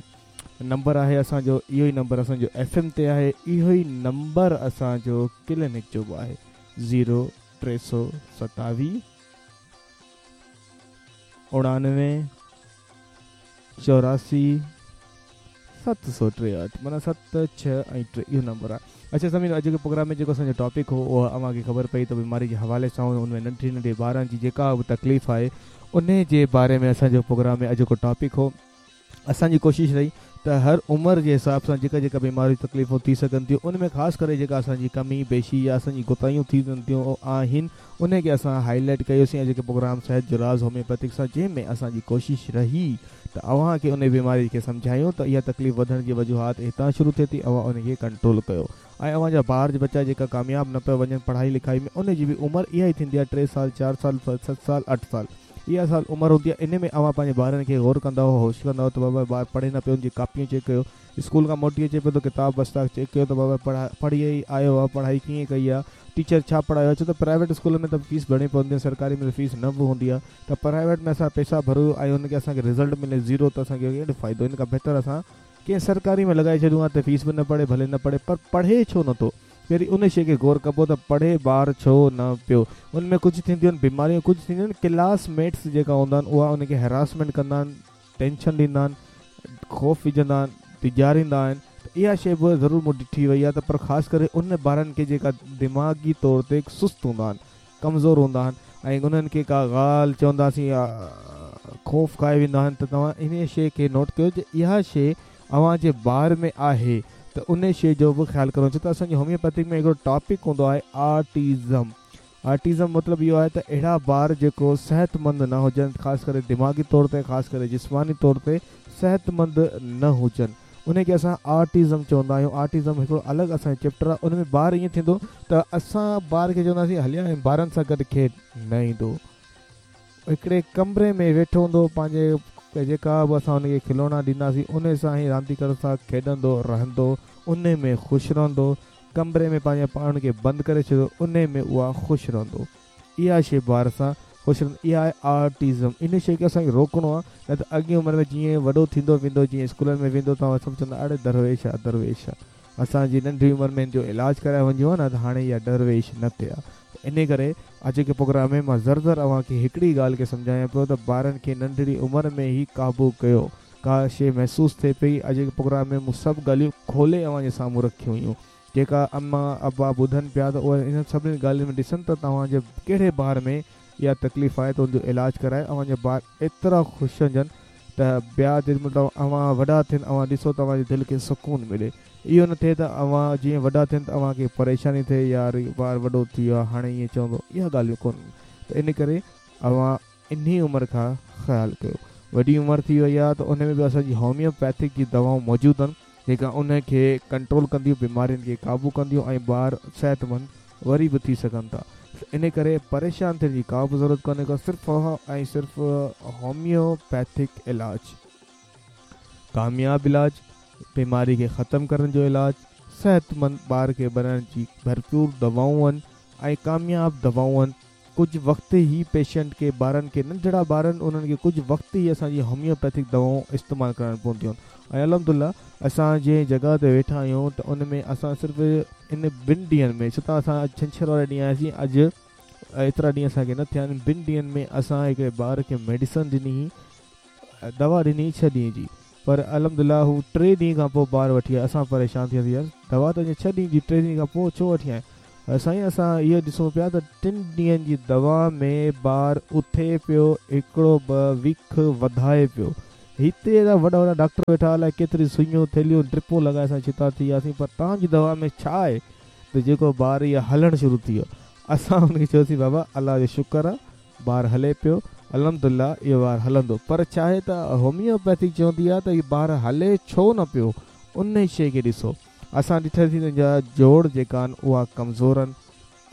نمبر آهي اسان جو اهو ئي نمبر اسان جو ايف ايم تي آهي اهو ئي نمبر اسان جو ڪلينڪ جو به آهي زيرو 327 99 84 763 معنيٰ 7 6 ۽ 3 اهو نمبر آهي. اڇا سامعين اڄوڪي پروگرام ۾ جيڪو اسان جو ٽاپڪ هو اهو اوهان کي خبر پئي ته بيماري جي حوالي سان ان ۾ ننڍي ننڍي ٻارن جي جيڪا به تڪليف آهي انهي جي باري ۾ اسان جو پروگرام ۾ اڄوڪو ٽاپڪ هو. اسان جي ڪوشش رهي ته هر عمر جي حساب سان جيڪا جيڪا بيماريون تڪليفون ٿي سگهن ٿيون ان ۾ خاص ڪري جيڪا اسان جي ڪمي بيشي يا اسان جي ڪوتاهيون ٿي ٿينديون آهن انهي کي اسان هائي لائيٽ ڪيوسين اڄوڪي پروگرام صحت جو راز هوميوپيٿڪ سان جنهن ۾ اسان جي ڪوشش رهي ته اوهان کي انهي بيماري کي سمجهايون ته اها تڪليف وڌڻ جي وجوهات هتان شروع ٿئي ٿي اوهان انهي کي ڪنٽرول ڪيو ۽ اوهان جا ٻار ٻچا جيڪا ڪامياب نه پيا وڃن پڙهائي لکائي ۾ انهي جي به عمر اها ئي ٿيندي آهي ٽي سال چار سال ست سال اٺ سال اها سال عمر هوندي آهي انهي ۾ اوهان پنهنجي ٻارن کي غور ڪندا هو هوش ڪندا هو ته بابا ٻار پڙهي نه پيو ان جي ڪاپيون چيڪ ڪيو اسڪول کان موٽي اچي پيو ته ڪتاب بستا چيڪ ڪيو ته بابا پڙهي ئي آيو آهي پڙهائي ڪيئن ڪئي آهي ٽيچر ڇا پڙهايو آهي ڇو ته پرائيويٽ اسڪول ۾ ته فيس ڀرڻي پوندي آهي سرڪاري ۾ ته فيس نه به هوندي آهي ته پرائيويٽ ۾ اسان پئسا ڀريون ۽ ان کي اسان کي رزلٽ ملي زيرو ته اسان کي ڪهڙو فائدو ان کان بهتر اسان ڪنهن سرڪاري ۾ لڳائي ڇڏيون ها ته فيس به نه پڙي ڀلي نه پڙهي پر پڙهي ڇو نه ٿو پهرين ان شيء کي غور ڪبو ته پڙهي ٻار ڇو نه پيو. ان ۾ ڪجهه ٿينديون آهن بيماريون ڪجهه ٿينديون آهن ڪلاس ميٽس جيڪا هوندا آهن اها ان کي هراسمينٽ ڪندا آهن ٽينشن ڏيندا آهن خوف وجهندا آهن ڊيڄاريندا آهن ته اها شيء به ضرور مون ڏٺي وئي آهي ته پر خاص ڪري ان ٻارن کي جيڪا دماغي طور تي سست هوندا آهن ڪمزور هوندا آهن ۽ انهن کي ڪا ڳالهه چونداسين يا خوف کائي ويندا آهن ته توهان انهيء شيء کي نوٽ ڪيو جي اها شيء اوهان جي ٻار ۾ آهي ته انهي شيء جو به خيال ڪرڻو ڇو ته اسان جي هوميوپيٿڪ ۾ هڪڙو ٽاپڪ هوندو آهي آرٽيزم آرٽيزم مطلب اهو آهي ته اهڙا ٻار جيڪو صحتمند نه هجن خاص ڪري دماغي طور تي خاص ڪري جسماني طور تي صحتمند نه هجن انهي کي اسان آرٽيزم چوندا آهيون آرٽيزم هڪڙو الڳ اسان جو چيپٽر آهي ان ۾ ٻار ائين ٿيندو ته اسان ٻار کي چونداسين هليا ۽ ٻارن سان گڏ کيڏ نه ايندو هڪڙي ڪمري ۾ ويٺو هوندو پنهنجي جيڪا به اسان ان کي کلونا ڏينداسين انهي سان ئي رانديڪر سان کيڏندو رهندو انهي ۾ خوش رهندو ڪمري ۾ پنهنجي پاڻ کي بند ڪري ڇڏيو انهي ۾ اها خوش رهندو اها شيء ٻار سان خوش رهندو اها آهي آرٽيزم ان شيء کي اسان کي روڪڻو آهي نه ته اڳين عمر ۾ جيئن وڏو ٿيندو ويندو جيئن اسڪولن ۾ ويندو توهان سڀ چوندا اڙي درويش آ درويش آ اسان جي ننڍي عمر ۾ هن جو علاج ڪرائي وڃون ها نه ته هاڻي اها درويش نه ٿئي ها ته انهي ڪري اڄوڪي پروگرام ۾ مان ذر ذر اوهان کي هڪڙي ڳالهه کي سمجهايان پيو ته ٻارن کي ننڍڙي عمر ۾ ئي قابو ڪيو ڪا شيء محسوس ٿئي پئي اڄوڪي پروگرام ۾ مون سڀ ڳالهيون کولي اوهان جي سامهون رکيون هيون جيڪا اما ابا ٻڌن پيا ته اهي انهن سڀني ڳالهين ۾ ڏسن ته توهان جي ڪهڙي ٻار ۾ اها تڪليف آهي ته ان جو علاج ڪرائي اوهان جا ٻار ايترا خوش هجن ته ٻيا جيڏي مهل اوهان وڏا ٿين اوهان ڏسو ته اوهان جي دل کي سڪون ملي اهو نه ٿئي ته اوهان جيئن وڏا ٿين ته اوهان کي پريشاني ٿئي يار ٻار وڏو ٿي ويو آهي هاڻي ائين چوندو اها ڳالهيون ڪونهن ته ان ڪري اوهان انهي عمر کان خيال ڪيو وڏي عمر ٿي وئي آهي ته ان ۾ به اسان جي هوميوپيٿڪ جي دوائون موجود آهن جيڪا ان کي ڪنٽرول ڪنديون بيمارين کي قابو ڪنديون ۽ ٻار صحتمند وري به ٿي سگهن ٿا ان ڪري پريشان ٿيڻ جي ڪا به ضرورت ڪونهي ڪا صرف ۽ صرف هوميوپيٿڪ علاج ڪامياب علاج بيماري کي ختم ڪرڻ جو علاج صحتمند ٻار کي بنائڻ جي ڀرپور دوائون آهن ۽ ڪامياب دوائون آهن ڪجهه وقت ئي پيشنٽ کي ٻارن کي ننڍڙا ٻارن انهن کي ڪجهه وقت ئي اسان جي هوميوپيٿڪ دوائون استعمال ڪرڻ پونديون آهن ۽ الحمدلله اسان جنهن جڳهه تي ويٺا آهيون ته ان ۾ اسان صرف ان ٻن ڏينهن ۾ ڇو ته اسان اڄ ڇنڇر واري ڏينهن آياسين اڄ ايترا ڏينهن اسان کي نه ٿيا آهن ٻن ڏينهن ۾ اسان هڪڙي ٻار کي ميڊيسن ڏني هئي دوا ڏني ڇهه ڏينهن جي پر الحمدلله هو ٽي ڏينهن کان پوء ٻار وٺي آيو اسان پريشان ٿي وياسين يار دوا ته اڃا ڇهه ڏينهن جي ٽي ڏينهن کان پوء ڇو وٺي آيا. سائين اسان اهو ڏسون پيا ته ٽن ڏينهن جي دوا ۾ ٻار اٿي پيو هڪڙو ٻه وک وڌائي پيو. هتي ايڏا وڏا وڏا ڊاڪٽر ويٺا الائي ڪيتري سئيون ٿيلهيون ڊرپون لڳائي اسان ڇتا ٿي وياسين پر توهان جي دوا ۾ ڇا آهي ته جيڪو ٻار اهو هلڻ شروع ٿي ويو. اسان ان کي چيوسين بابا الله جو شڪر آ ٻار هلي پيو الحمدلله اهو ٻار هلندو پر ڇا آهي ته هوميوپيٿي چوندي آ ته هي ٻار هلي ڇو نه پيو انهي شيء کي ڏسو. اسان ڏٺاسين ته ان جا جوڙ جيڪا آهن اها ڪمزور آهن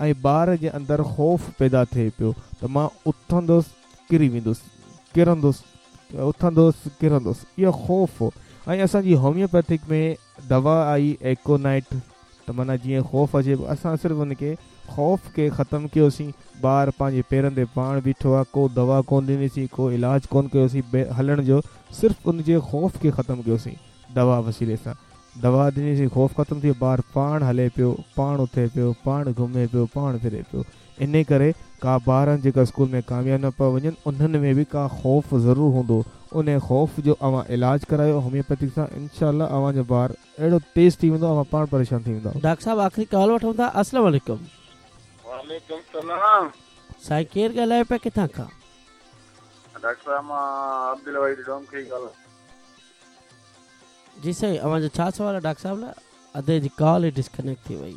۽ ٻار جي اندر خوف پيدا ٿئي پيو ته مان اٿندس ڪري ويندس ڪرندس اٿندس ڪرندس اهو خوف هو ۽ اسان جي هوميوپيٿڪ ۾ دوا آئي ايڪونائٽ ته معنيٰ جيئن خوف اچي پيو اسان صرف ان کي خوف کي ختم ڪيوسين ٻار پنهنجي پيرن تي پاڻ بيٺو آهي ڪو دوا ڪون ڏنيسين ڪو علاج ڪون ڪيوسين هلڻ جو صرف ان جي خوف کي ختم ڪيوسين دوا وسيلي سان دوا ڏنيسين خوف ختم ٿي ويو ٻار پاڻ هلي پيو پاڻ اٿي پيو پاڻ گهمي پيو پاڻ ڦري پيو انهي ڪري ڪا ٻارن جيڪا اسڪول ۾ ڪامياب نه پيا وڃن انهن ۾ به ڪا خوف ضرور هوندو انهي خوف جو اوهان علاج ڪرايو هوميوپيٿڪ سان انشاء الله اوهان جو ٻار اهڙو تيز ٿي ويندو اوهان پاڻ پريشان ٿي ويندا. ڊاڪٽر صاحب آخري ڪال وٺون ٿا السلام عليڪم. وعليڪم السلام. سائين ڪير ڳالهايو پيا ڪٿان کان. ڊاڪٽر صاحب مان عبدالوحيد ڊومڪي ڳالهايان. جي سائين اوهان جو ڇا سوال آهي ڊاڪٽر صاحب لاء ادي جي ڪال ئي ڊسڪنيڪٽ ٿي وئي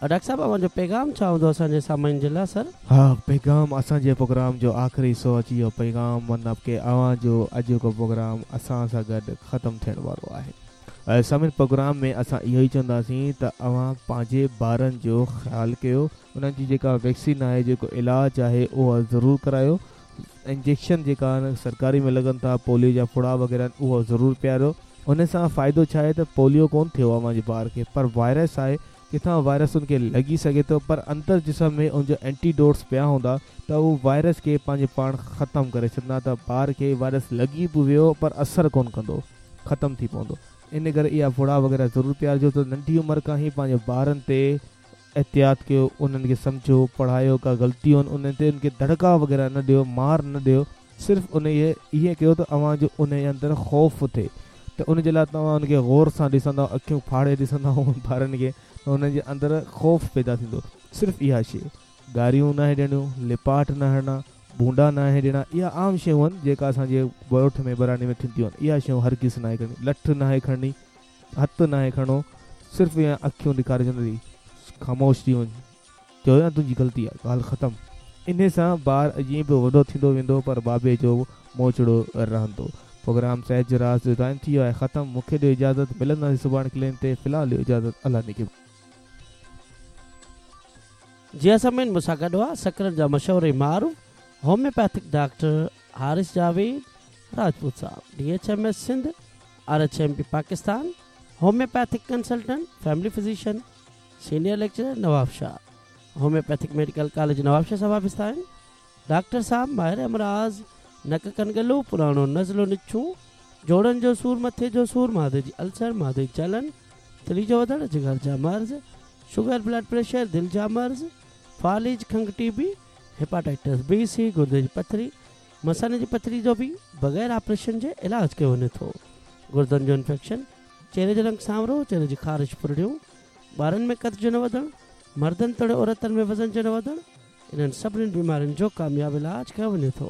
ڊاڪٽر صاحب اوهان جو پيغام ڇا هوندو اسان جي سامعين جي لاء سر. ها پيغام اسان جي پروگرام جو آخري حصو اچي ويو پيغام مطلب ڪي اوهان جو اڄوڪو پروگرام اسان سان گڏ ختم ٿيڻ وارو آهي سامعين پروگرام ۾ اسان اهو ئي چونداسين ته اوهان پنهنجي ٻارن جو خيال ڪيو انهن جي جيڪا ويڪسين آهي جيڪو علاج آهي اهو ضرور ڪرايو انجيڪشن جيڪا آهن سرڪاري ۾ لڳن ٿا پوليو جا ڦڙا وغيره آهن اهو ضرور پياريو ان سان فائدو ڇا آهي ته پوليو ڪون ٿيو اوهان جي ٻار کي پر وائرس آهي ڪٿان وائرس ان کي لڳي سگهي ٿو پر اندر جسم ۾ ان جو اينٽي ڊوٽس پيا هوندا ته اهو وائرس کي پنهنجي پاڻ ختم ڪري ڇڏندا ته ٻار کي وائرس لڳي به ويو پر اثر ڪون ڪندو ختم ٿي پوندو ان ڪري اها ڦڙا وغيره ضرور پيارجو ته ننڍي عمر کان ئي پنهنجي ٻارن تي احتياط ڪيو انهن کي سمجهو پڙهايو ڪا غلطي هن انهن تي ان کي دڙڪا وغيره نه ڏيو مار نه ڏيو صرف انهي ائين ڪيو ته اوهان جو انهي اندر خوف ٿئي ته ان جي لاء توهان ان کي غور سان ڏسندؤ اکيون ڦاڙي ڏسندؤ ٻارن کي ته انهن جي اندر خوف پيدا ٿيندو صرف اها شي گاريون ناهي ڏيڻيون لپاٽ نه هڻڻا ڀونڊا ناهي ڏيڻا اها عام شيون آهن جيڪا اسان جي ڳوٺ ۾ ٻهراڙي ۾ ٿينديون آهن اها شيون هرگز ناهي ڪرڻي لٺ ناهي کڻڻي هٿ ناهي کڻڻو صرف ائين اکيون ڏيکاري چوندي خاموش ٿي وڃ چيو نه تنهنجي غلطي آ ڳالهه ختم انهي سان ٻار جيئن پيو وڏو ٿيندو ويندو پر بابي جو موچڙو رهندو پروگرام صحت جو راز جو ٽائيم ٿي ويو آهي ختم مونکي ڏيو اجازت ملنداسين سڀاڻي ڪلين تي في الحال ڏيو اجازت الله نگهبان. جي ها سامعين مون سان گڏ هئا سڪرنڊ جا مشهور ۽ معروف هوميوپيٿڪ ڊاڪٽر حارث جاويد راجپوت صاحب D H M S Sindh R H M P Pakistan, homeopathic consultant, family physician, senior lecturer Nawabshah, homeopathic medical college Nawabshah سان وابسته آهن. ڊاڪٽر صاحب ماهر امراض نڪ ڪن ڳلو، پراڻو نزلو نڇون، جوڙن جو سور، مٿي جو سور، معدي جي السر، معدي جي جلن، تري جو وڌڻ، جگر جا مرض، شگر، بلڊ پريشر، دل جا مرض، فالج، کنگهه ٽي بي، هيپاٽائٽس بي، سي، گردي جي پٿري، مثاني جي پٿري جو به بغير آپريشن جي علاج ڪيو وڃي ٿو. گردن جو انفيڪشن، چهري جو رنگ سانورو، چهري جي خارش ڦرڙيون، ٻارن ۾ قد جو نه وڌڻ، مردن توڙي عورتن ۾ وزن جو نه وڌڻ، انهن سڀني بيمارين جو ڪامياب علاج ڪيو وڃي ٿو.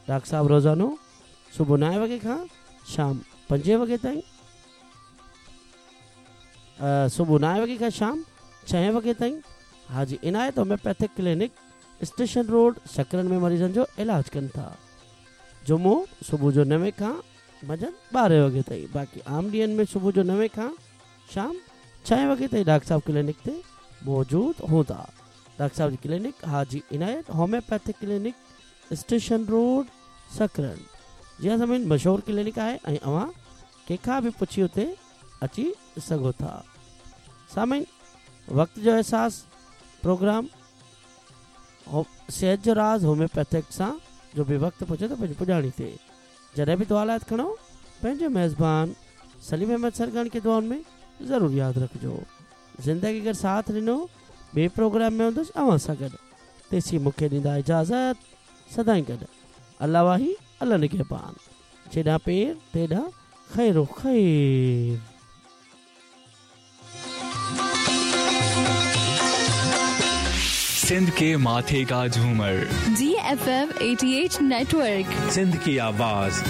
ڊاڪٽر صاحب روزانو صبح نائين وڳي کان شام پنجين وڳي تائين صبح نائين وڳي کان شام ڇهين وڳي تائين Haji Inayat homeopathic clinic station road Sakrand ۾ مريضن جو علاج ڪن ٿا. جمعو صبح جو نوين کان منجهند ٻارهين وڳي تائين باقي عام ڏينهن ۾ صبح جو نوين کان شام ڇهين وڳي تائين ڊاڪٽر صاحب ڪلينڪ تي موجود هوندا. ڊاڪٽر صاحب جي clinic Haji Inayat homeopathic clinic station road Sakrand جي ها سامعين مشهور ڪلينڪ آهي ۽ اوهان ڪنهن کان به پڇي اتي اچي سگهو ٿا. سامعين وقت جو احساس پروگرام صحت جو راز هوميوپيٿڪ سان جو به وقت پهچي ٿو پنهنجي پڄاڻي تي جڏهن به دعا لاء هٿ کڻو پنهنجي ميزبان سليم احمد سرگاڻي کي دعائن ۾ ضرور ياد رکجو زندگي اگر ساٿ ڏنو ٻئي پروگرام ۾ هوندس اوهان سان گڏ تيسين مون کي ڏيندا اجازت سدائين گڏ الله واهي الله نگهبان جيڏانهن پير تيڏانهن خير و خير. सिंध के माथे का झूमर, जी एफ एम 88 नेटवर्क, सिंध की आवाज़।